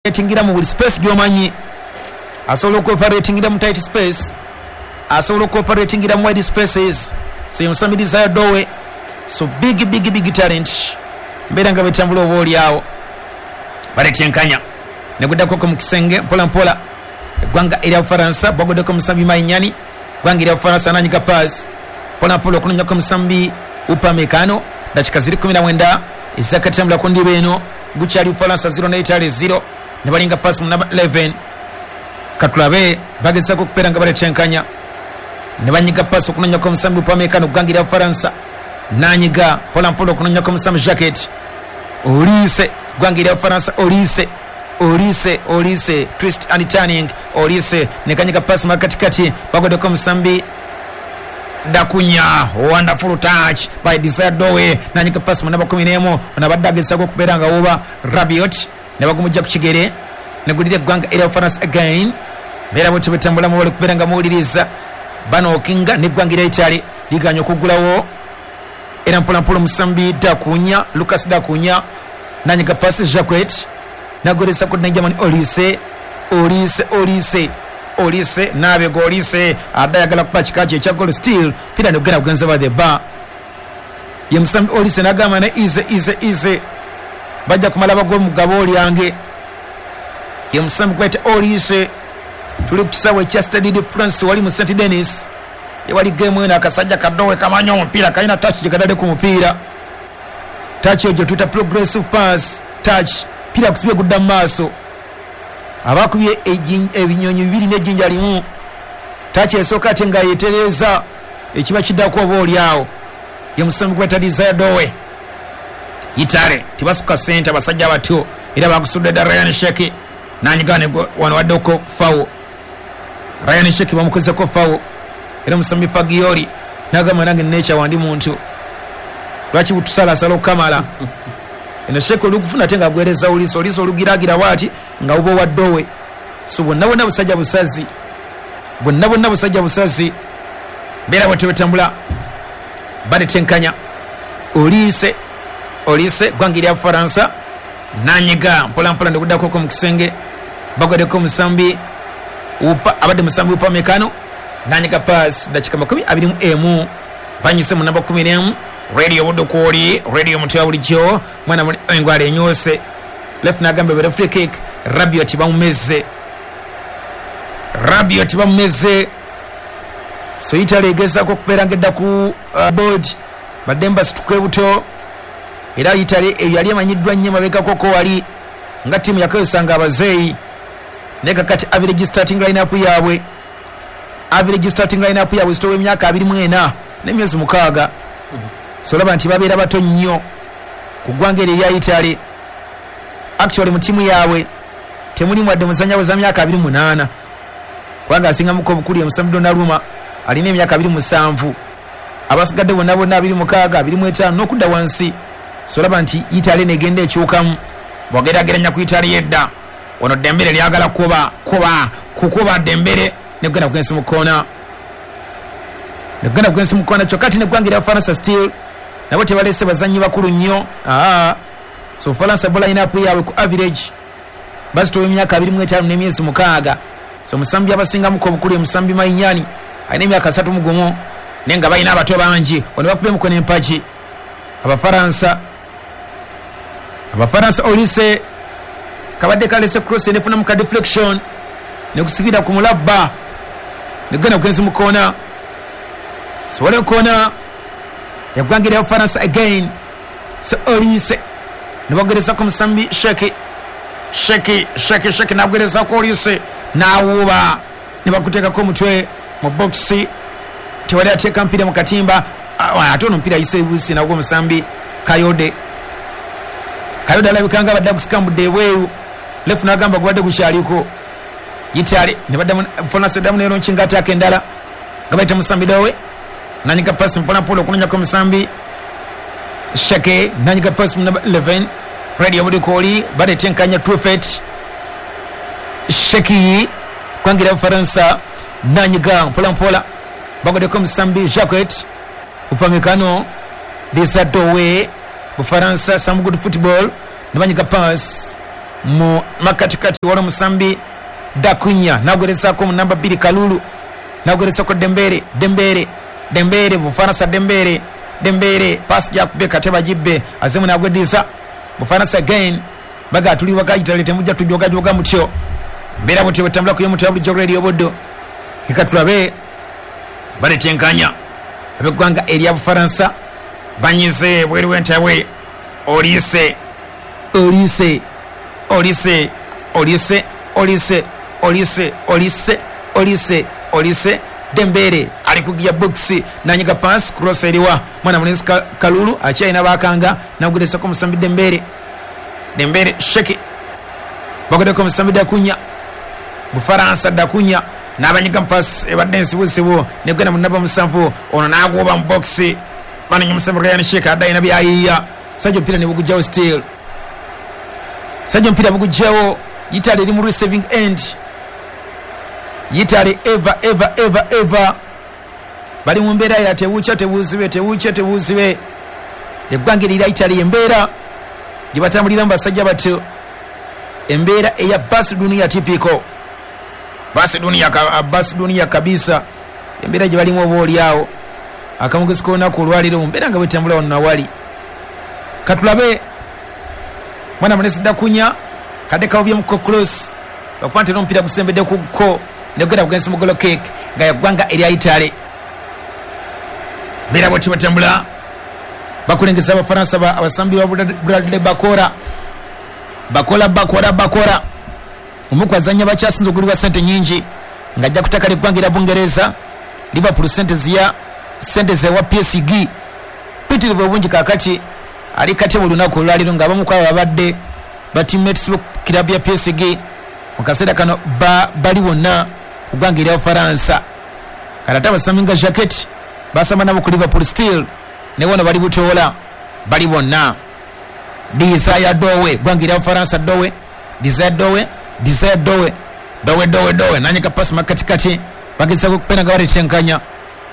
Operatingira mu buli space gy'omanyi, asobola okuoperatingira mu tight space, asobola okuoperatingira mu wide spaces. So ye Desire Dowe. So big, big, big talent. Mbeera nga bwetambula oba oliawo baletenkanya neguddako mu kisenge mpola mpola. Eggwanga erya Bufaransa baguddeko musambi Mainyani. Eggwanga erya Bufaransa nanyiga pass mpola mpola okunonyako musambi Upamecano. Dakika ziri 19 ezakatambula ku ndiba eno, gukyali Bufaransa 0 ne Italy 0. Ne balinga pass mu namba 11. Katulabe bagezako okubeera nga baletenkanya ne banyiga pass okunonyako omusambi Upamecano. Eggwanga erya Bufaransa nanyiga mpola mpola okunonyako omusambi Jacquet Olise. Eggwanga erya Bufaransa, Olise, Olise, Olise, twist and turning. Olise nekanyiga pass makatikati, bagoddeko omusambi Dakunya. Wonderful touch by Desire Dowe. Nanyiga pass mu namba 11. Ono abadde agezako okubeera nga wuba Rabiot ne bagumujja ku kigere negulira eggwanga erya Bufaransa again. Mbeera bwetyo bwetambulamu, bali kubeera nga muwuliriza banookinga neggwanga erya Italy liganya okuggulawo. Era mpolampola omusambi Dakunya, Lucas Dakunya, nanyiga pass. Jacquet nagweresa ku Germany. Olise, Olise, Olise, Olise nabega. Olise adde ayagala kuba kika kye ekya goal, still pira negugenda kugenza by the bar. Ye musambi Olise nagamba ne easy, easy, easy, bajja kumala bagwe mu gabo lyange. Ye musambi gwete Olise. Tuli ku kisaawe ekya Stade de France wali mu St Denis ewali game eno. Akasajja kadowe kamanyi omupiira, kalina touch gye katadde ku mupiira, touch eyo gye tuyita progressive pass touch. Piira kusibye gudda mu maaso, abakubye ebinyonyi bibiri n'ejjinja limu. Touch esooka ate nga yetereeza ekiba kiddako oba oli awo. Ye musambi gweta Desire Dowe. Italy tebasuka sente, abasajja batyo era bakusudde dda. Rayan Cherki nanyiga wano, waddeko foul. Rayan Cherki bamukozeko foul era omusambi Fagioli nagamba, "Nange nekya wandi muntu, lwaki butusalasala okukamala eno?" Cherki olugufuna ate nga agwereza Olise. Olise olugiragira bwati nga buba owaddowe. So bonna bonna busajja busazi, bonna bonna busajja busazi. Mbeera bwetyo bwetambula, batetenkanya. Olise, Olise, ggwanga erya Bufaransa nanyiga mpolampola ndikuddako mu kisenge, bagwaddeko omusambi abadde musambi Upamecano nanyiga pass. Dakika 21 banyise mu namba 11. Radio Buddu kwoli, radio mutya bulijjo. Mwana engwala enyose left nagamba bere free kick. Rabiot bamumeze, Rabiot bamumeze. So Italy egezaako okubeera nga edda ku board, badde mbasituka buto. Era Italy eyo yali emanyiddwa nnyo mabegakoko wali nga ttiimu yakozesanga abazeeyi, naye kakati average starting lineup yaabwe, average starting lineup yaabwe zitowa emyaka 24 n'emyezi 6. So olaba nti babeera bato nnyo ku ggwanga eryo erya Italy. Actually mu ttiimu yaabwe temulimu wadde muzannya weza myaka 28, kubanga asingamuko obukulu ye musambi Donnarumma, alina emyaka 27. Abasigadde bonna bonna 26, 25 n'okudda wansi. So olaba nti Italy negenda ekyukamu bwogerageranya ku Italy yedda. Ono Dembele lyagala kuba kuba kukuba Dembele negenda kugensi mu koona, negenda kugensi mu koona. Kyokka ate neggwanga erya Faransa still nabo tebalese bazannyi bakulu nnyo. Aa, so Faransa bo line-up yaabwe ku average bazitowa emyaka 25 n'emyezi 6. So omusambi abasingamuko obukulu ye musambi Mainyani, alina emyaka 31, naye nga balina abato bangi. Ono bakubye mukono empagi Abafaransa, Abafaransa. Olise kabadde kalese cross nefunamu ka deflection nekusibira ku mulabba negenda kugenzi mu koona. Sobole koona eggwanga erya Bufaransa again. So Olise nebagerezako musambi Cherki, Cherki, Cherki, Cherki nagwerezako Olise nawuuba nebakuteekako omutwe mu bokisi. Tewali ateeka mpira mu katimba. Ate ono omupiira ayise busi nagwo omusambi Kayode. Kayode alabika nga abadde agusikambudde ebweru, ref nagamba gubadde gukyaliko. Italy nebaddamu, Faransa eddamu nelonkinga attack endala nga bayita musambi Dowe. Nanyiga pasi mpolampola okunonyako omusambi Cherki, nanyiga pasi mu namba 11. Radio Budikoli batetenkanya Truffert. Cherki, kwangira Bufaransa, nanyiga mpolampola, bagodeko omusambi Jacquet. Upamecano, Desire Dowe. Bufaransa some good football, nebanyiga pass. Mu makatikati waliwo omusambi Dakunya nagwerezaako mu namba 2 Kalulu, nagwerezaako Dembele, Dembele, Dembele, Bufaransa Dembele, Dembele pass jakube kateba jibbe azemu nagwediza Bufaransa again baga tuli wakayitale temujja tujogajoga mutyo mbeera butyo bwetambula ku yomutu ya bulijjo radio Buddo. Ikatulabe baletenkanya ab'eggwanga erya Bufaransa banyize bweru w'entabwe. Olise, Olise, Olise, Olise, Olise, Olise, Olise, Olise, Olise, Dembele ali kugia box nanyiga pass cross eriwa mwana mulenzi Kalulu akyalina bakanga nagudesako musambi Dembele, Dembele sheki bagodeko musambi Dakunya, Bufaransa Dakunya n'abanyiga pass ebadde ensibusibu negenda mu namba 7 ono n'agoba mu box bananya musambi Ryan Sheki adda byayiya sajja omupiira ne bugujjawo still sajja omupiira bugujjawo. Italy eri mu receiving end. Italy ever ever ever ever bali mu mbeera ya tewuukya tebuuzibe tewuukya tebuuzibe. Eggwanga erira Italy embeera gye batambuliramu basajja batyo, embeera eya basi dunia typical basi dunia, basi dunia kabisa, embeera gye balimu oba oli awo akamugezi k'olunaku olwaleero mu mbeera nga bwetambula wano nawali. Katulabe mwana munesi Dakunya kadde kawubyemuko cross bakuba nti n'omupiira gusembedde ku ko negenda kugensi mu goal kick nga yaggwanga erya Italy. Mbeera bwetyo batambula bakulengeza Abafaransa abasambi ba Bradley Bakora, Bakola, Bakora, Bakora omuku azannya bakyasinze okugulibwa ssente nyingi ng'ajja kutakala eggwanga erya Bungereza. Liverpool ssente ziya ssente zewa PSG pitirivu obungi kaakati ali kati buli lunaku olwaleero ng'abamu ku abo babadde ba teammates bo kirabu ya PSG mu kaseera kano bali bonna ku ggwanga erya Bufaransa. Kati ate abasambi nga Jacquet basamba nabo ku Liverpool still ne bono bali butoola bali bonna. Desire Dowe ggwanga erya Bufaransa, Dowe, Desire Dowe, Desire Dowe, Dowe, Dowe, Dowe nanyika pasi makatikati bagezaako okupena nga baletenkanya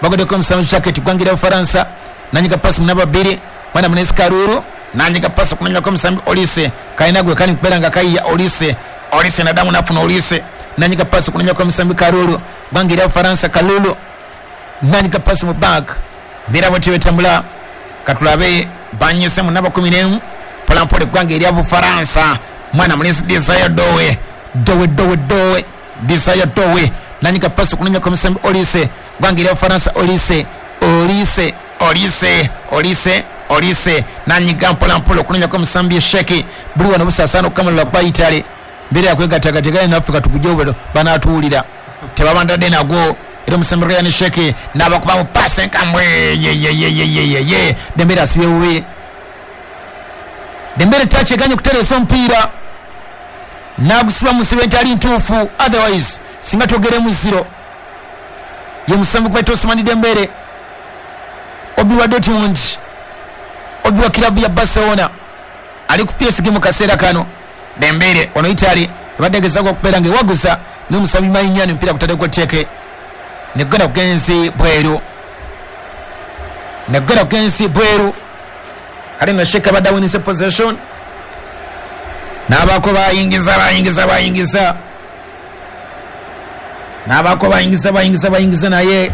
bagoddeko omusambi Jacquet ggwanga erya Bufaransa nanyika pasi mu namba 2 mwana munesi Karuru nanyika pasi okunanyako omusambi Olise kalina gwe kali kubeera nga kayiya Olise, Olise nadamu nafuna Olise nanyika pasi okunanyako omusambi Karuru ggwanga erya Bufaransa Kalulu nanyika pasi mu back mbeera bwetyo betambula. Katulabe banyise mu namba 11 mpolampola eggwanga erya Bufaransa mwana munesi Desire Dowe, Dowe, Dowe, Dowe, Desire Dowe nanyika pasi okunanyako omusambi Olise ggwanga erya Bufaransa Olise, Olise, Olise, Olise, Olise nanyiga mpolampola okunanyako omusambi Sheki buli wano busaasaana okukamulira kwa Italy mbeera yakwegattagategane naffe katugujje obwero banaatuwulira tebabandadde nagwo era omusambi Ryan Sheki n'abakubamu paasi enkamwe yeyeyeyeyeye Dembele asibye bubi. Dembele takyeganye okutereesa omupiira n'agusiba mu nsibe ntali ntuufu, otherwise singa twogeremu zero. Ye musambi gwa Ousmane Dembele obi wa Dortmund, obi wa kilabu ya Barcelona ali ku PSG mu kaseera kano. Dembele ono Italy ebadde egezaako okubeera ng'ewaguza n'omusambi Mayinyani omupiira gutaddeko tteke negenda kugenzi bweru, negenda kugenzi bweru. Kale nno Sheka abadde awinise possession n'abaako bayingiza bayingiza bayingiza n'abaako bayingiza bayingiza bayingiza naye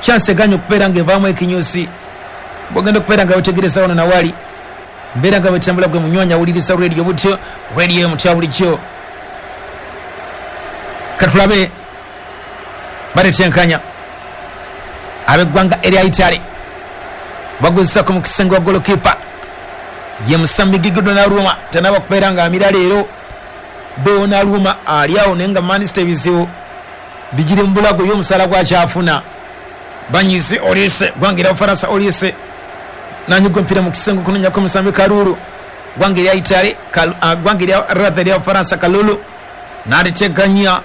chance eganye okubeera ng'evaamu ekinyusi. Bw'ogenda okubeera nga wetegereza wano nawali mbeera nga bwetambula gwe munywanya awuliriza radio butyo radio emutya bulijjo. Katulabe baletenkanya ab'eggwanga erya Italy baguzisako mu kisenge wa golokipa ye musambi Gigi Donnarumma tanaba kubeera nga amira leero. Donnarumma ali awo naye nga Manchester ebizibu bigiri mu bulago y'omusaala gwakyafuna. Banyize Olise ggwanga erya Bufaransa Olise nanyiga omupiira mu kisenge okunonyako omusambi Kalulu ggwanga erya Italy ggwanga erya rather erya Bufaransa Kalulu n'aliteganya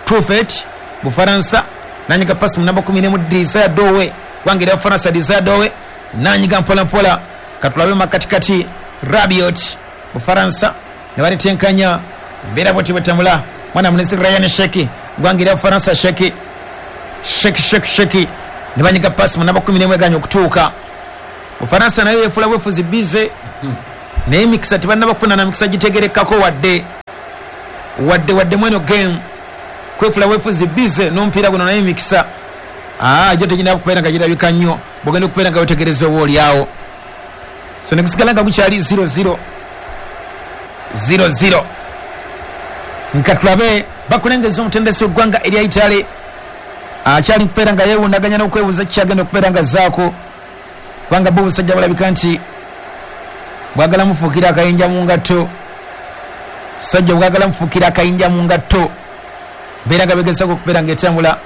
Truffet Bufaransa nanyiga pasi mu namba 11 Desire Dowe ggwanga erya Bufaransa Desire Dowe nanyiga mpola mpola. Katulabe makatikati Rabiot Bufaransa ne baletenkanya mbeera bwetyo bwetambula. Mwana munesi Ryan Sheki ggwanga erya Bufaransa Sheki, Sheki, Sheki, Sheki ne banyiga pasi mu namba 11 eganye okutuuka. Bufaransa nayo yefuula bwefuzi bize. Naye emikisa tebannaba kufuna na mikisa gitegerekako wadde wadde wadde mweno game kwefula wefuzi bize n'omupiira guno, naye emikisa gyo teginaba kubeera nga girabika nnyo bwogenda okubeera nga wetegereza oba oliawo. So negusigala nga gukyali 0-0 0-0. Nka tulabe bakulengeza omutendesi w'eggwanga erya Italy akyali kubeera nga yeewundaganya n'okwebuuza kikyagenda okubeera nga zaako, kubanga bo obusajja bulabika nti bwagala mufuukira akayinja mu ngatto. Sajja bwagala mufuukira akayinja mu ngatto, beera nga begezaako okubeera nga etambula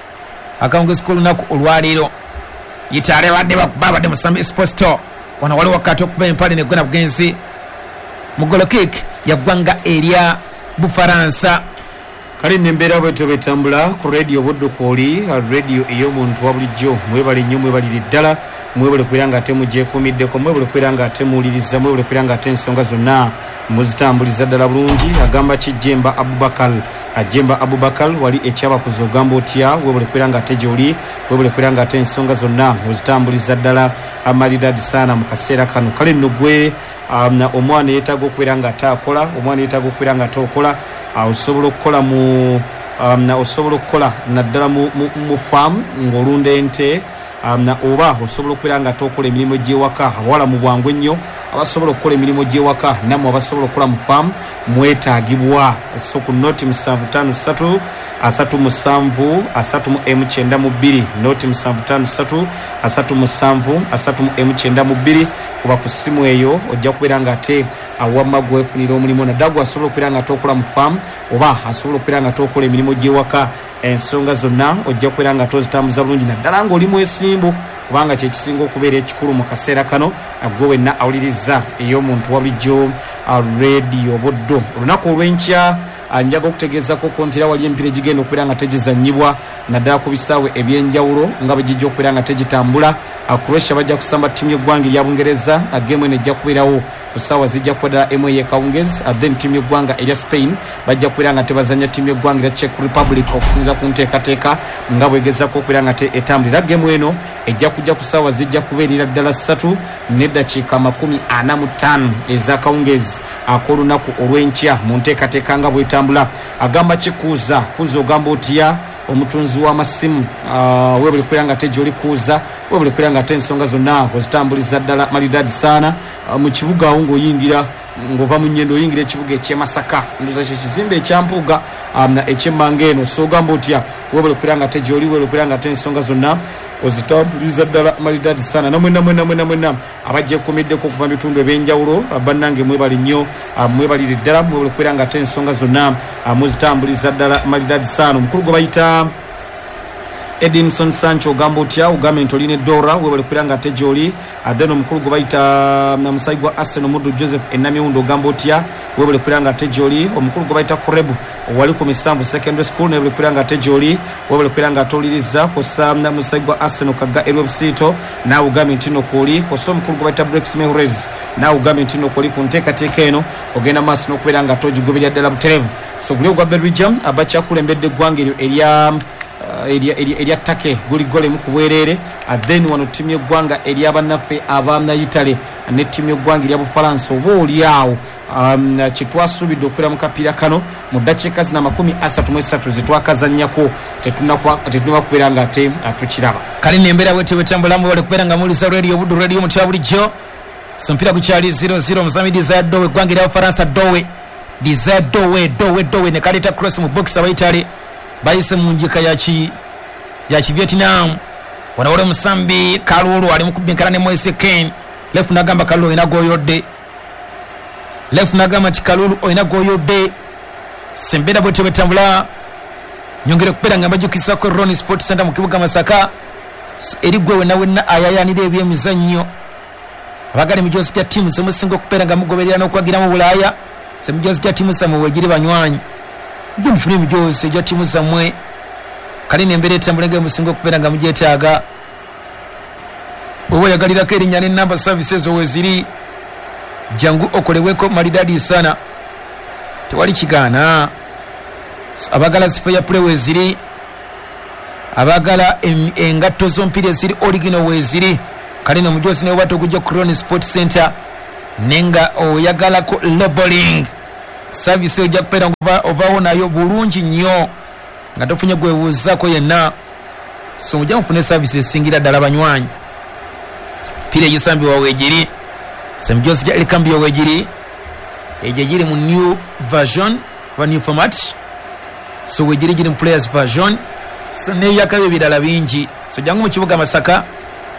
akawungezi k'olunaku olwaleero. Italy badde babadde musambi Esposito wano waliwo wakati okuba empale negwena bugenzi mu goal kick ya ggwanga erya Bufaransa. Kale nembeera bwetyo bwetambula ku Radio Buddu kwoli radio ey'omuntu wa bulijjo. Mwebale nnyo, mwebalire ddala, mwebale kubeera nga ate mugyekuumiddeko, mwebale kubeera nga ate muwuliriza, mwebale kubeera nga ate ensonga zonna muzitambuliza ddala bulungi. Agamba ki Jemba Abubakar? Jemba Abubakar wali ekyabakuza, ogamba otya? Webale kubeera nga ate gyoli, webale kubeera nga ate ensonga zonna ozitambuliza ddala maridadi sana mu kaseera kano. Kale nno gwe omwana yeetaaga okubeera nga ate akola, omwana yeetaaga okubeera nga ate okola, osobola okukola mu osobola okukola naddala mu faamu ng'olunda ente, oba osobola okubeera nga ate okola emirimu gy'ewaka. Abawala mu bwangu ennyo abasobola okukola emirimu gy'ewaka, nammwe abasobola okukola mu faamu mwetaagibwa. So ku noti 753 37 30 92, noti 753 37 30 92, kuba ku ssimu eyo ojja kubeera nga ate awamma gwefunira omulimu, naddala gwe asobola okubeera nga ate okola mu faamu oba asobola okubeera nga ate okola emirimu gy'ewaka. Ensonga zonna ojja kubeera nga tozitambuza bulungi, naddala ng'oli mwesimbu, kubanga kyekisinga okubeera ekikulu mu kaseera kano. Gwe wenna awuliriza ey'omuntu wa bulijjo Radio Buddu, olunaku olw'enkya njaga okutegeezako nti era wali emipiira egigenda okubeera nga tegizanyibwa naddala ku bisaawe ebyenjawulo nga bwe gijja okubeera nga tegitambula. Croatia bajja kusamba ttiimu y'eggwanga erya Bungereza, game eno ejja kubeerawo ku ssaawa zijja kuba ddala emu ey'ekawungezi. Then ttiimu y'eggwanga erya Spain bajja kubeera nga tebazanya ttiimu y'eggwanga erya Czech Republic, okusinziira ku nteekateeka nga bwegezako okubeera nga etambula. Era game eno ejja kujja ku ssaawa zijja kubeerera ddala 3:45 ez'akawungezi ak'olunaku olw'enkya mu nteekateeka nga bwetambula. Agamba kikuuza kuuza, ogamba otya omutunzi w'amasimu? Webale kubeera nga ate gyoli kuuza, webale kubeera nga ate ensonga zonna ozitambuliza ddala maridadi saana. Mu kibuga awo ng'oyingira, ng'ova mu Nyendo oyingira ekibuga ekyemasaka, ndoza kyekizimbe ekyampuuga ekyemmanga eno. So ogamba otya? Webale kubeera nga ate gyoli, webale kubeera nga ate ensonga zonna ozitambuliza ddala maridadi saana. Namwena mwena mwena mwena abagyekuumiddeko okuva mu bitundu ebyenjawulo, bannange mwebale nnyo, mwebalire ddala, mwebale kubeera nga ate ensonga zonna muzitambuliza ddala maridadi saana. Omukulu gwe bayita Edinson Sancho, ogamba otya? Ogambye nti olina edora, webale kubeera nga ate gyoli. Then omukulu gwe bayita musayi gwa Arsenal Muddu Joseph Enamiwundo, ogamba otya? Webale kubeera nga ate gyoli. Omukulu gwe bayita Kurebu wali ku Misanvu Secondary School, naye kubeera nga ate gyoli, webale kubeera nga ate oliriza. Kosa musayi gwa Arsenal Kagga erwebusiito, naawe ogambye nti no kwoli. Kosa omukulu gwe bayita Brex Mehres, naawe ogambye nti no kwoli ku nteekateeka eno, ogenda maaso n'okubeera nga ate ogigoberera ddala butereevu. So guli ogwa Belgium abakyakulembedde eggwanga eryo erya Turkey, guli gole mu kubwereere. Then wano ttiimu y'eggwanga eryabannaffe aba Italy ne ttiimu y'eggwanga erya Bufalansa, oba oli awo kyetwasuubidde okubeera mu kapiira kano mu ddakiika zino 33 zetwakazannyako tetunaba kubeera nga ate tukiraba. Kale nembeera bwetyo bwetambulamu. Bale kubeera nga muwuliza Radio Buddu, radio mutya bulijjo. So mpira gukyali 0-0. Omuzami Desire Dowe, eggwanga erya Bufalansa, Dowe, Desire Dowe, Dowe, Dowe ne kaleeta cross mu box. Abaitale bayise mu njika ya Kivietnam. Wano wali omusambi Kalulu ali mukubinkana ne Moise Kean. Ref nagamba Kalulu olina goyodde. Ref nagamba nti Kalulu olina goyodde. Sembeera bwetyo bwetambula. Nyongere kubeera nga mbajukisako Ron Sport Center mu kibuga Masaka eri gwe wenna wenna ayayanira ebyemizannyo, abagala emijoozi gya ttiimu zemusinga okubeera nga mugoberera n'okwagira mu Bulaaya. Semijoozi gya ttiimu zammwe wegiri, banywanyi, mujje mufune emijoozi egya ttiimu zammwe. Kale nembeera etambula nga emusinga okubeera nga mugyetaaga. Oba oyagalirako erinnya n'ennamba, service ezo weziri. Jangu okolebweko malidadi sana, tewali kigaana. Abagala zifo ya play weziri, abagala engatto z'omupiira eziri original weziri. Kale no omujozi naye oba togujja ku Ron Sport Center. Nenga oyagalako labeling service ojja kubeera nga ovaawo nayo bulungi nnyo nga tofunye gwebuuzaako yenna. So mujja mufune service esingira ddala banywanyi. Pira egisambibwa weegiri semjosi gya elikambio weegiri egyo giri mu new version oba new format. So weegiri giri mu players version, so neyakayo ebirala bingi. So jangu mu kibuga Masaka,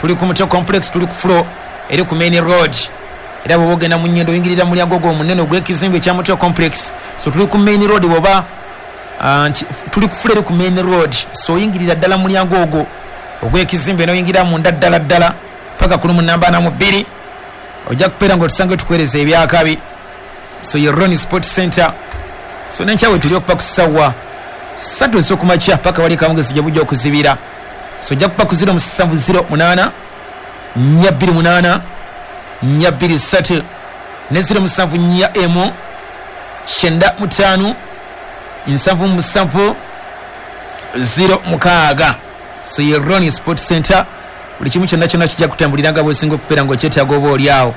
tuli ku Mutyo complex, tuli ku floor eri ku main road. Era bw'oba ogenda mu Nyendo oyingirira mu mulyango ogwo omunene ogw'ekizimbe ekya Mutyo complex. So tuli ku main road bw'oba nti tuli ku floor eri ku main road. So oyingirira ddala mu mulyango ogwo ogw'ekizimbe n'oyingira munda ddala ddala paka ku lumu namba ana mu bbiri, ojja kubeera ng'otusanga tukuweereza ebyakabi. So ye Ronnie Sport Center. So n'enkya we tuli okuva ku ssaawa 3 ez'okumakya paka wali akawungeezi gye bujja okuzibira. So ojja kuba ku 0708 428 423 ne 0741 95 77 06. So ye Ronnie Sport Center, buli kimu kyonna kyonna kijja kutambulira nga bw'osinga okubeera ng'okyetaaga oba oli awo.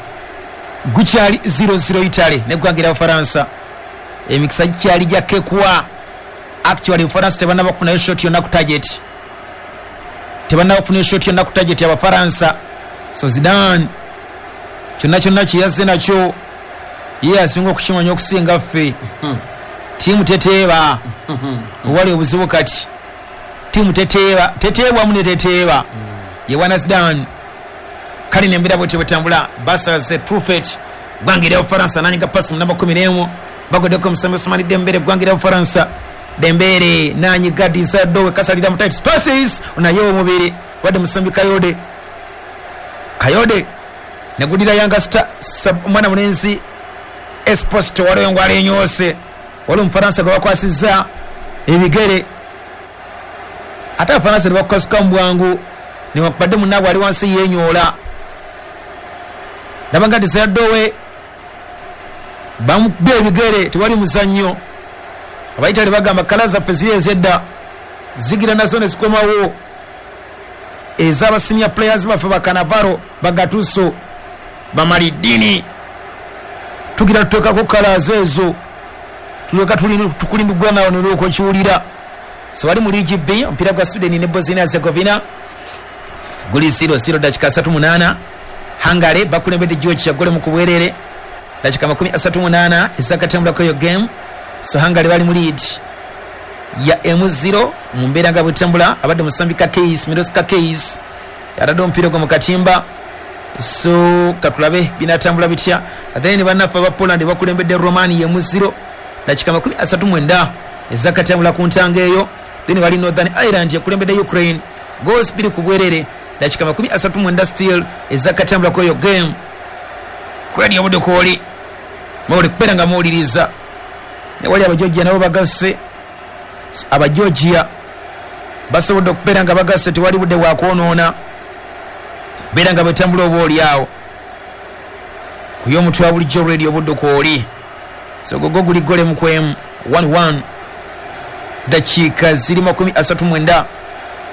Gukyali 0-0 Italy n'eggwanga erya Bufalansa. Emikisa gikyali gya kekwa. Actually Bufalansa tebannaba kufunayo shot yonna ku target, tebannaba kufunayo shot yonna ku target y'Abafalansa. So Zidane kyonna kyonna kye yazze nakyo ye asinga okukimanya okusinga ffe. Ttiimu teteeba, owali obuzibu kati ttiimu teteeba, teteebwamu ne teteeba. Ye bwana Zidane. Kale n'embeera bwetyo bwetambula. Basaze Truffet ggwanga erya Bufalansa nanyiga pasi mu namba 11, bagoddeko omusambi Ousmane Dembele ggwanga erya Bufalansa. Dembele nanyiga Desire Dowe kasalira mu tight spaces naye omubiri wadde musambi Kayode. Kayode negudira Yanga Star omwana mulenzi Esposito waliwo ngwala enyoose, waliwo Omufalansa gwe bakwasizza ebigere, ate Abafalansa ne bakukasuka mu bwangu newankubadde munnaabwe ali wansi yeenyoola. Ndaba nga Desire Dowe bamukubye ebigere, tewali muzannyo. Abayitale bagamba kala zaffe ziri ez'edda zigira nazo ne zikomawo, ez'aba senior players baffe bakanavaro bagatuso bamalidini, tugira tuteekako kalazi ezo tulyoka tukulimbigwa nawo nolwoka okiwulira. So wali mu liigi B, omupiira gwa Sweden ne Bosnia Herzegovina guli 0-0 dakika 38. Hungary bakulembedde Georgia gole mu kubwerere dakika 38 ezakatambulako eyo game. So Hungary bali mu lead ya M0 mu mbeera nga bwetambula. Abadde musambi Kakis, Milos Kakis yatadde omupiira ogwo mu katimba. So katulabe binatambula bitya. Then bannaffe aba Poland bakulembedde Romania M0 dakika 39 ezakatambula ku ntanga eyo. Then wali Northern Ireland yakulembedde Ukraine goals 2 ku bwerere dakika 39 still ezakatambula ku eyo game. Kwedi obudde kwoli mawuli kubeera nga muwuliriza. Ne wali Abageorgia nabo bagasse, Abageorgia basobodde okubeera nga bagasse, tewali budde bwakwonoona, beera nga bwetambula oba oli awo ku y'omutwe wa bulijjo radio obudde kwoli. So gogo guli gole mu kwemu 1-1 dakiika ziri 39.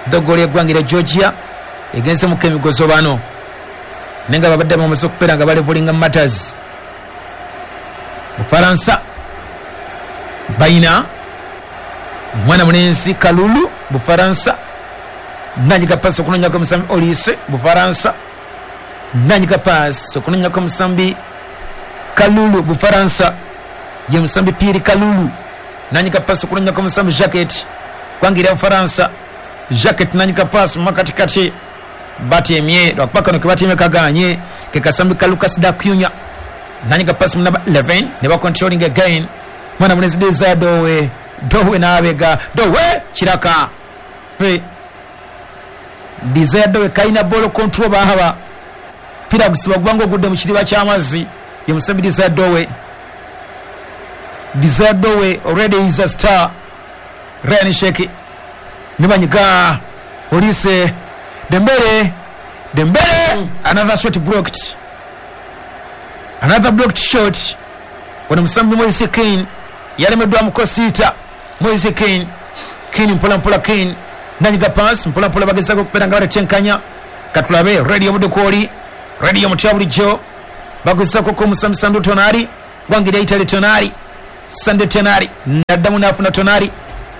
Dogolo y'eggwanga erya Georgia egenze mu kemigozo bano, naye nga babadde bamaze okubeera nga balevulinga matters. Bufalansa balina mwana mulenzi Kalulu Bufalansa nanyiga pasi okunonyako omusambi Olise Bufalansa nanyiga pasi okunonyako omusambi Kalulu Bufalansa ye musambi Pierre Kalulu nanyiga pasi okunonyako omusambi Jacquet ggwanga erya Bufalansa. Jacquet nanyiga pasi mu makatikati batemye lwakuba kano ke batemye kaganye ke kasambi ka Lucas Dacunya nanyiga pasi mu namba 11 ne ba controlling again mwana mulenzi Desire Dowe, Dowe n'abega Dowe kiraka pe Desire Dowe kalina ball control bahaba pira gusiba gubanga ogudde mu kiriba ky'amazzi ye musambi Desire Dowe. Desire Dowe already is a star. Ryan Sheki nibanyiga Olise Dembele, Dembele another shot blocked, another blocked shot. Wano musambi Moise Kean yalemeddwa mukosita. Moise Kean, Kean mpola mpola, Kean nanyiga pass mpola mpola, bagezaako okubeera nga baletenkanya. Katulabe radio budde kwoli radio mutya bulijjo Baguzako ko Musambi Sandro Tonali gwangira Italy. Tonali, Sandro Tonali naddamu nafuna Tonali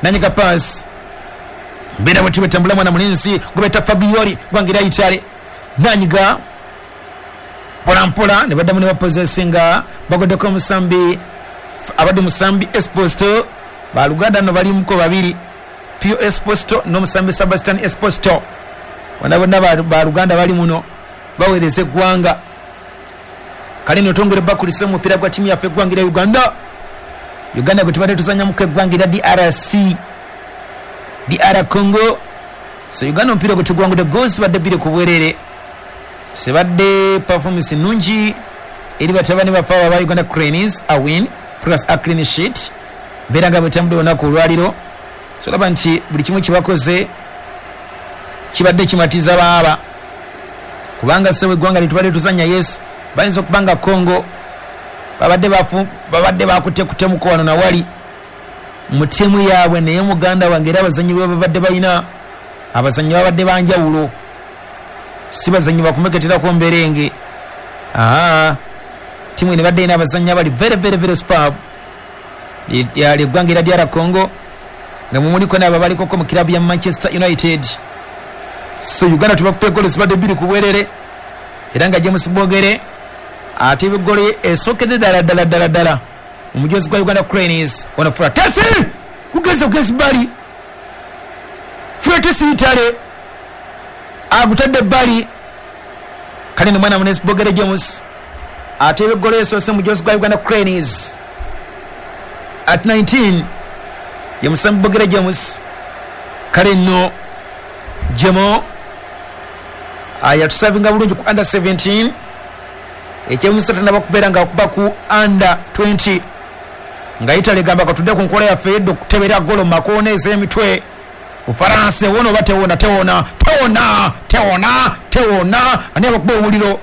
nanyika pass mbera bwe tubetambula mwana mulinzi gubeta Fabioli gwangira Italy nanyiga mpola mpola ne baddamu ne bapossessinga bagoddeko Musambi abadde Musambi Esposito. Baluganda no balimuko babiri, Pio Esposito n'omusambi Sebastian Esposito, bonna bonna baluganda bali muno baweereza eggwanga. Kale nno twongere bakulisa omupiira gwa ttiimu yaffe eggwanga erya Uganda. Uganda gwe tubadde tuzannyamuko eggwanga erya DRC, DR Congo. So Uganda omupiira gwe tugwangudde goals badde 2 ku bwerere. Sebadde performance nnungi eri batabani baffe aba Uganda Cranes, a win plus a clean sheet. Mbeera nga bwetambudde olunaku olwaliro. So olaba nti buli kimu kyebakoze kibadde kimatiza baaba, kubanga ssebo eggwanga lyetubadde tuzannya, yes, bayinza okuba nga Congo babadde bakuttekutemuko wano nawali mu ttiimu yaabwe, naye muganda wange era abazannyi be babadde balina abazannyi babadde banjawulo, si bazannyi bakumeketerako mberenge. Ttiimu eno ebadde erina abazannyi abali very very very superb. Eggwanga erya DR Congo nga mumuliko n'abo abalikoko mu kirabu ya Manchester United. So Uganda tubakupa eggolo zibadde 2 ku bwerere, era nga James Bogere ate eggolo esookedde ddala ddala ddala ddala omujozi gwa Uganda Cranes ono Fratesi kugeza bugezi bbali. Fratesi Italy agutadde bbali. Kale nomwana munesi Bogere James ate eggolo esoose mujozi gwa Uganda Cranes at 19 ye Musambi Bogere James. Kale nno Jemo yatusavinga bulungi ku under 17, ekyemusa tanaba kubeera nga akuba ku under 20 nga Italy egamba katudde ku nkola yaffe edda okutebera golo mu makoona ez'emitwe. Ufaransa ewona oba tewona? Tewona, tewona, tewona, tewona. Ani abakuba omuliro?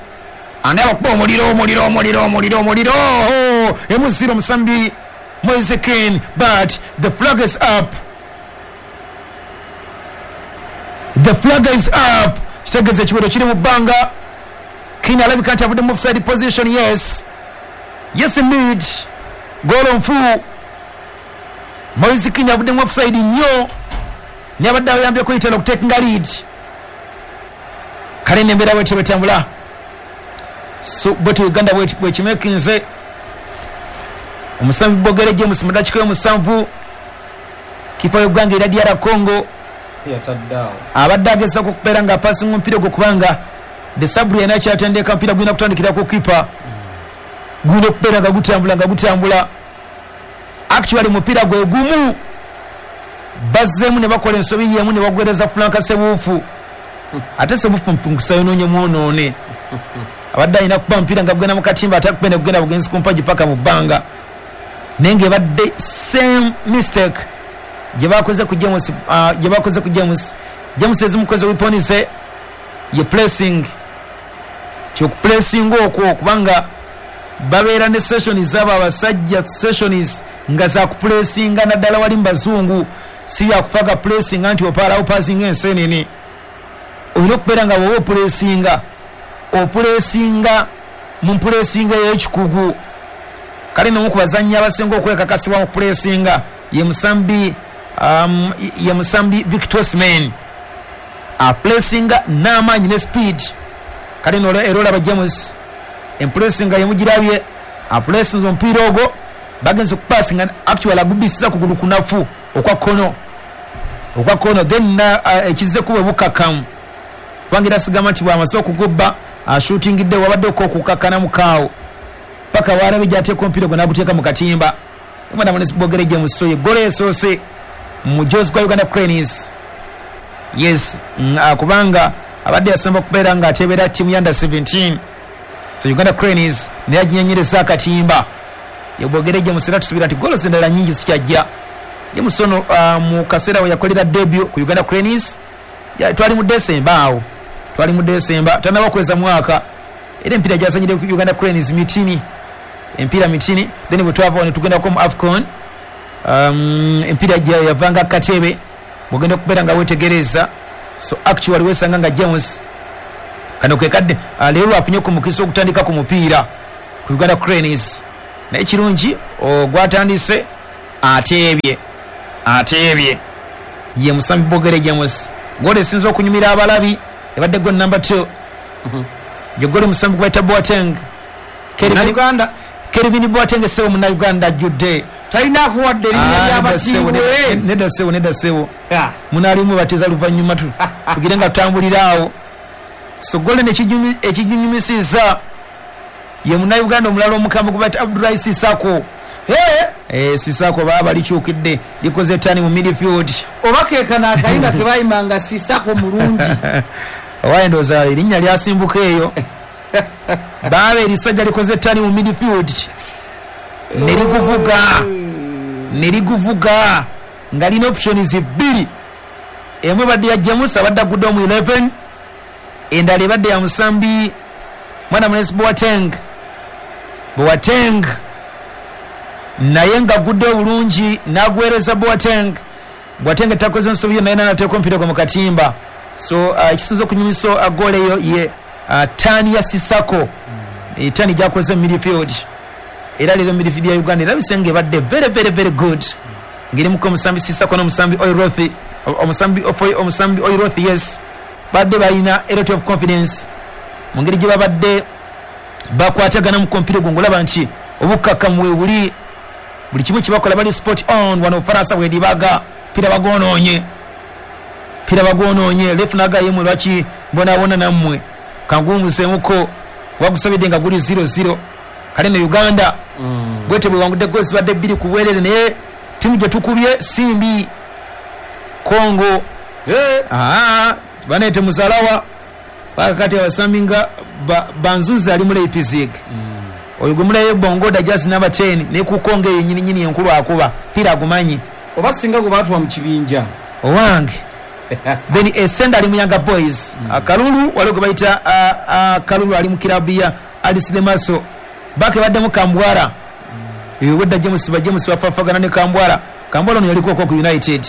Ani abakuba omuliro? Omuliro, omuliro, omuliro, omuliro. Emuziro Musambi Moise Kean, but the flag is up. The flag is up. Kitegeeza ekiwero kiri mu bbanga. Kean alabika nti avudde mu offside position. Yes, yes indeed, golo nfu. Moise Kean avudde mu offside nnyo, naye abadde ayambyeko Italy okutekinga lead. Kale nembeera bwetyo bwetambula. So bwetyo Uganda bwekimekinze. Omusambi Bogere James mu dakiika y'omusanvu, kipa y'eggwanga erya DR Congo abadde agezaako okubeera nga apasinga omupiira ogwo, kubanga Desabre yena kyatendeka omupiira gulina kutandikira ku kipa, gulina okubeera nga gutambula nga gutambula. Actually mupiira gwe gumu bazzeemu ne bakola ensobi yemu ne bagwereza Frank Sebuufu, ate Sebuufu mpungusa yonoonye mwonoone. Abadde alina kuba omupiira nga gugenda mu katimba, ate akubende kugenda bugenzi ku mpagi paka mu bbanga, naye ng'ebadde same mistake gye bakoze ku James, gye bakoze ku James. James ezimukoze weapon ze ye pressing, kyokupressinga okwo, kubanga babeera ne sessions abo abasajja, sessions nga za kupressinga naddala wali mu bazungu, si byakufaga pressinga nti opaalawo passinga ensenene. Olina okubeera nga bw'oba opressinga, opressinga mu mpulesinga ey'ekikugu. Kale n'omu ku bazannyi abasinga okwekakasibwa mu kupulesinga ye Musambi, ye Musambi Victor Osimhen, apulesinga n'amaanyi ne speed. Kale nno era olaba James empulesinga yemugirabye, apulesinze omupiira ogwo, bagenze okupasinga, actually agubisiza kugulu kunafu okwa kkono, okwa kkono, then ekizze kuba bukakkamu, kubanga era sigamba nti bw'amaze okugubba ashutingidde, wabadde okukkakkana mukaawo paka walabe gy'ateeka omupiira gwe n'aguteeka mu katimba. Omwana munesi Bogere James ye ggolo esoose mu mujozi gwa Uganda Cranes. Yes, kubanga abadde yasamba okubeera ng'ateebera ttiimu ya under 17. So Uganda Cranes naye aginyenyereza akatimba. Ye Bogere James, era tusuubira nti ggolo endala nnyingi zikyajja. James ono mu kaseera we yakolera debut ku Uganda Cranes, twali mu December awo, twali mu December, tannaba kuweza mwaka, era empiira gyazanyire ku Uganda Cranes mitini, empiira mitini. Then bwe twava ne tugendako mu AFCON, empiira yavanga Katebe, bw'ogenda okubeera nga weetegereza. So actually wesanga nga James kano ke kadde leero afunye ku mukisa okutandika ku mupiira. Ku Uganda Cranes naye kirungi ogwatandise ateebye ye musambi Bogere James. Gole esinza okunyumira abalabi ebadde gol number 2. Ye gole musambi gwayita Boateng. Uganda Kelvin Boateng sebo munnayuganda ajjudde talina akuwadde erinnya ly'abatiibwe. Nedda sebo, nedda sebo, munaalimu batiza luvannyuma tugire nga tutambulira awo. So gole ekiginyumisiza ye munnayuganda omulala omukambwe gwe bayita Abdullahi Sisako. Sisako baba likyukidde likoze tani mu midfield. Oba keekano akayimba ke bayimanga Sisako mulungi. Owaye ndowooza erinnya lyasimbuka eyo. Baaba erisajja likoze tani mu midfield ne liguvuga nga lina options bbiri. Emu ebadde ya James abadde agudde mu 11, endala ebadde ya musambi mwana munesi Boateng. Boateng naye ng'agudde obulungi n'agwereza Boateng. Boateng takoze nsobi yo naye n'ateeka omupiira gwe mu katimba. So ekisinza okunyumisa goal eyo ye tani ya Sisako. Tani gyakoze mu midfield. Era leero midfield ya Uganda erabise nga ebadde very very very good. Ng'erimuko omusambi Sisako n'omusambi Oirothi, omusambi Oirothi, yes, badde balina a lot of confidence mu ngeri gye babadde bakwatagana mu kompyuta gwo ng'olaba nti obukkakkamu we buli, buli kimu kye bakola bali spot on. Wano Faransa bwedibaga pira bagwonoonye lefu nagayemwe lwaki mbonaabona nammwe kanguwumuzeemuko wagusabidde nga guli 0-0. Kale ne Uganda bwete bwewangudde goals zibadde 2 ku bwerere, naye ttiimu gye tukubye si mbi. Congo banete muzalawa bakati abasambi nga Banzuzi ali mu Leipzig. Oyo gwe mulaye Bongoda jazz number 10 ne ku Congo eyo nyini nyini enkulu akuba pira agumanyi oba singa gwe baatuwa mu kibinja owange. Then Esenda ali mu Yanga Boys. Kalulu waliwo gwe bayita Kalulu ali mu kilabu ya Alice Lemaso. Bake baddemu Kambwara. Wedda James bafafagana ne Kambwara. Kambwara ono yaliko ku United,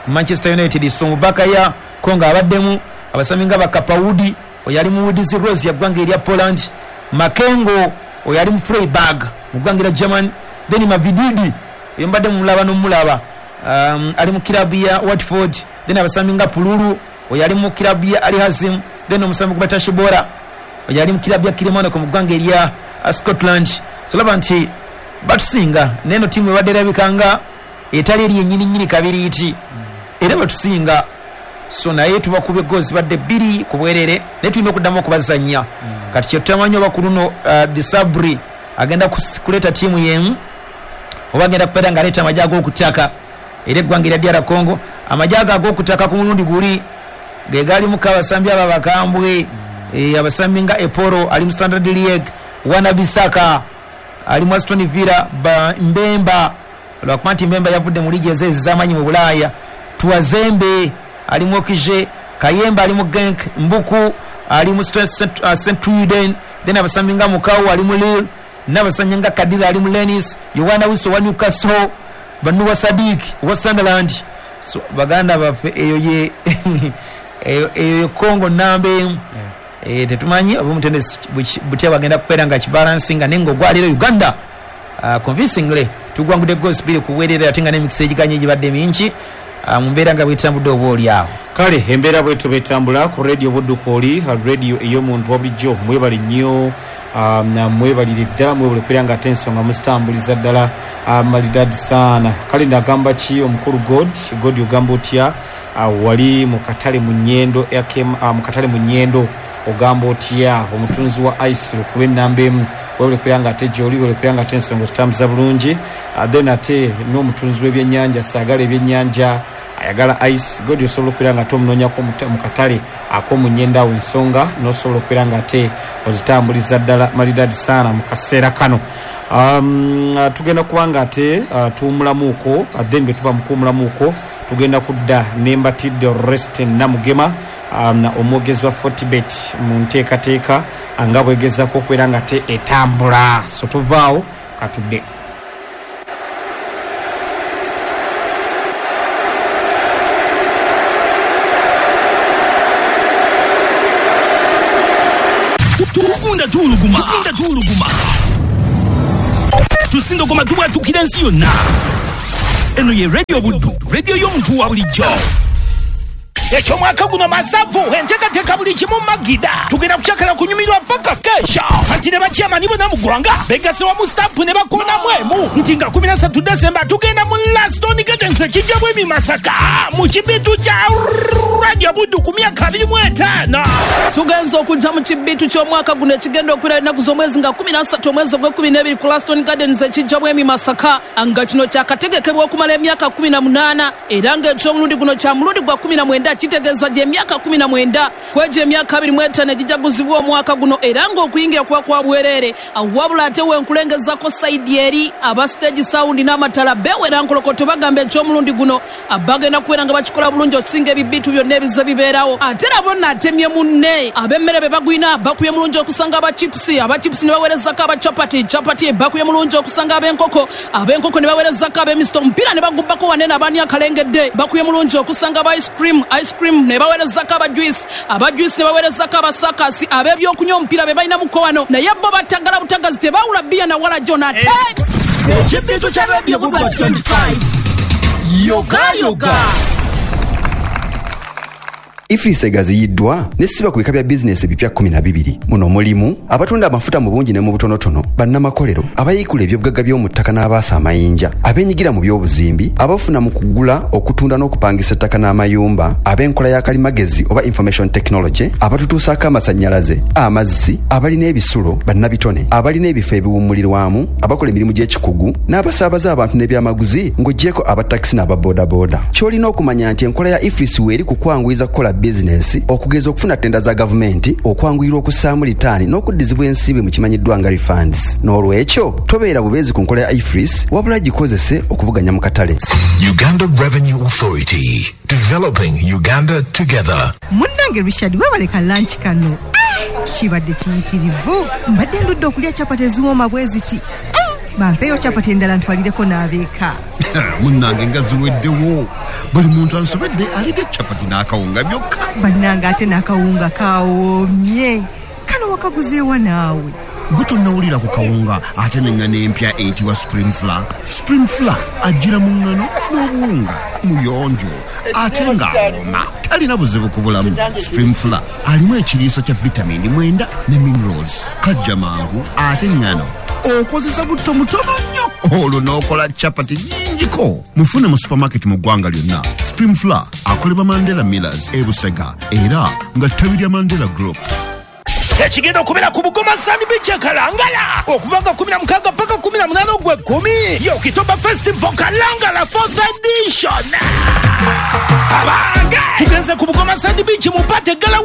Manchester United. So mu baka ya Congo abaddemu abasambi nga Bakapaudi oyo ali mu Woods Rose ya ggwanga erya Poland, Makengo oyo ali mu Freiburg mu ggwanga erya German, then Mavididi oyo mbadde mumulaba n'omulaba ali mu kilabu ya Watford, then abasambi nga Pululu oyo ali mu kilabu ya Al Hazim, then omusambi gwe Tashibora oyo ali mu kilabu ya Kilmarnock mu ggwanga erya Scotland. So laba nti batusinga neno ttiimu ebadde erabika etali eri yennyini nnyini kabiriiti era batusinga. So naye tubakubye goals zibadde 2 ku bwerere naye tulina okuddamu okubazannya. Kati kye tutamanyi oba ku luno Disabri agenda kuleeta ttiimu yemu oba agenda kubeera ng'aleeta amagye ag'okutaka era eggwanga erya DR Congo. Amagye ago ag'okutaka ku mulundi guli ge galimuko abasambi abo abakambwe, abasambi nga Eporo ali mu Standard Liège, Wana Bisaka ali mu Aston Villa, Mbemba lwakuba nti Mbemba yavudde mu liigi ez'amaanyi mu Bulaaya, Tuwazembe ali mu Okije, Kayemba ali mu Genk, Mbuku ali mu St-Truiden, then abasambi nga Mukau ali mu Lille, n'abasambi nga Kadira ali mu Rennes, Yohana Wiso wa Newcastle, Banuwa Sadik wa Sunderland. So baganda baffe eyo ye eyo Congo namba emu. Tetumanyi oba omutendesi butya bagenda kubeera nga kibalansinga, naye ng'ogwaliro Uganda convincingly tugwangudde goals 2 ku bwerere ate nga n'emikisa egiganye gibadde mingi mu mbeera nga bwetambudde oba oli awo. Kale embeera bwetyo betambula ku radio Buddukooli, radio ey'omuntu wa bulijjo. Mwebale nnyo, mwebalire ddala, mwebale kubeera nga ate ensonga muzitambuliza ddala malidadi saana. Kale ndagamba ki omukulu God ogamba otya wali mu katale mu Nyendo, mu katale mu Nyendo ogamba otya omutunzi wa ice ku lw'ennamba emu webale kubeera nga ate gy'oli, webale kubeera nga ate ensonga zitambuza bulungi. Then ate n'omutunzi w'ebyennyanja saagala ebyennyanja ayagala ice God osobola okubeera nga ate omunoonyako mu katale ak'omu Nyendo awo ensonga n'osobola okubeera nga ate ozitambuliza ddala malidadi saana mu kaseera kano. Tugenda kuba nga ate tuwumulamuuko, then bwe tuva mu kuwumulamuuko tugenda kudda n'embatidde Rest Namugema omwogezi wa Fortebet mu nteekateeka nga bwegezaako okubeera nga ate etambula. So tuvaawo katudde. Tugunda tuuluguma. Tusindogoma tubwatukira ensi yonna. Eno ye Radio Buddu, radio y'omuntu wa bulijjo. Ekyomwaka guno masavu enteekateeka buli kimu magida. Tugenda kukyakala kunyumirwa paka kesha. Kati ne bakyamani bonna mu ggwanga begase wamu stampu ne bakoonamu emu nti nga 13 Desemba tugenda mu Laston Gardens ekijja bwemi Masaka mu kibitu kya Radio Buddu ku myaka 25. Tugenza okujja mu kibitu ky'omwaka guno ekigenda okubeera ennaku z'omwezi nga 13 omwezi ogw'ekkumi ku Laston Gardens ekijja bwemi Masaka, nga kino kyakategekebwa okumala emyaka 18 era ng'ekyomulundi guno kya mulundi gwa 19, kitegeeza gy'emyaka 19 kwegyo emyaka 25 egijaguzibwa omwaka guno, era ng'okuyingira kuba kwa bwereere. Wabula ate wenkulengezako sayidi eri aba stage sound n'amatala bewera nkolokoto bagamba ekyomulundi guno bagenda kubeera nga bakikola bulungi okusinga ebibitu byonna ebize bibeerawo. Ate nabo naatemye munne ab'emmere be bagwina bakubye mulungi okusanga abachipusi, abachipusi ne baweerezako abachapati, chapati bakubye mulungi okusanga ab'enkoko, ab'enkoko ne baweerezako ab'emisito, omupiira ne bagubbako wanene abaani akalengedde bakubye mulungi okusanga aba ice cream, ice cream ne baweerezako aba juice, aba juice ne baweerezako abasakasi, ab'ebyokunywa omupiira be balina muko wano, naye bo batagala butagazi tebawula bbiya na wala jona. Ate ekibitu kya Radio Buddu 25 yoga yoga. EFRIS egaziyiddwa nesiba ku bika bya bizinesi ebipya 12. Muno mulimu abatunda amafuta mu bungi ne mu butonotono, bannamakolero, abayiikula ebyobugagga by'omu ttaka n'abaasa amayinja, abeenyigira mu by'obuzimbi, abafuna mu kugula, okutunda n'okupangisa ettaka n'amayumba, ab'enkola ya kalimagezi oba information technology, abatutuusaako amasannyalaze, amazzi, abalina ebisulo, bannabitone, abalina ebifo ebiwummulirwamu, abakola emirimu gy'ekikugu, n'abasaabaza abantu n'ebyamaguzi ng'oggyeko abatakisi n'ababoodabooda. Ky'olina okumanya nti enkola ya EFRIS weeri ku kwanguyiza kukola bizinesi, okugeza okufuna tenda za gavumenti, okwanguyirwa okussaamu litaani n'okuddizibwa ensimbi mu kimanyiddwa nga refunds. N'olwekyo tobeera bubeezi ku nkola ya EFRIS, wabula gikozese okuvuganya mu katale. Uganda Revenue Authority, developing Uganda together. Munnange Richard, weebaleka lunch kano kibadde kiyitirivu. Mbadde ndudde okulya chapati eziwooma bwe ziti. Bampeeyo chapati endala ntwalireko n'abeeka. Munnange nga ziweddewo, buli muntu ansobedde alidde chapati n'akawunga byokka. Bannange ate n'akawunga kawoomye. Kano wakaguzeewa naawe? Gwe tonnawulira ku kawunga ate n'eŋŋano empya eyitibwa Spring Flour. Spring Flour ajjira mu ŋŋano n'obuwunga, muyonjo ate ng'awooma, talina buzibu ku bulamu. Spring Flour alimu ekiriisa kya vitamini 9 ne minerals, kajja mangu ate ŋŋano okozesa butto mutono nnyo olwo n'okola chapati nnyingiko. Mufune mu supermarket mu ggwanga lyonna. Spring Flour akolebwa Mandela Millers e Busega era nga ttabi lya Mandela Group. Ekigenda okubeera ku Bugoma Sand Beach e Kalangala okuva nga 16 paka 18 ogw'ekkumi, Okitoba Festival Kalangala 4th edition. Abange tugenze ku Bugoma Sand Beach mu Pate Gala.